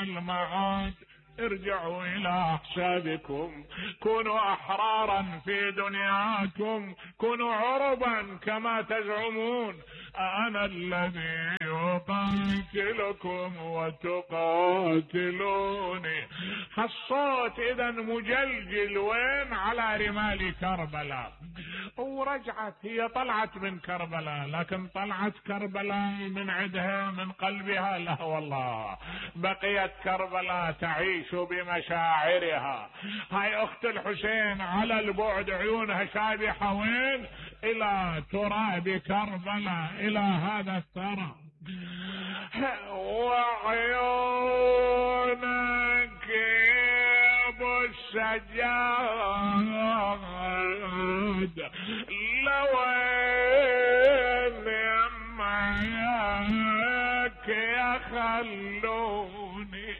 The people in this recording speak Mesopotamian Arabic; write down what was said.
المعاد. ارجعوا الى احسابكم، كونوا احرارا في دنياكم، كونوا عربا كما تزعمون. انا الذي اقاتلكم وتقاتلوني. الصوت اذا مجلجل وين؟ على رمال كربلاء. ورجعت هي، طلعت من كربلاء، لكن طلعت كربلاء من عندها من قلبها؟ لا والله، بقيت كربلاء تعيش بمشاعرها. هاي اخت الحسين على البعد عيونها شابحة وين؟ الى تراب كربلاء، الى هذا الثرى. وعيونك ابو السجاد لوين يمك يا خلوني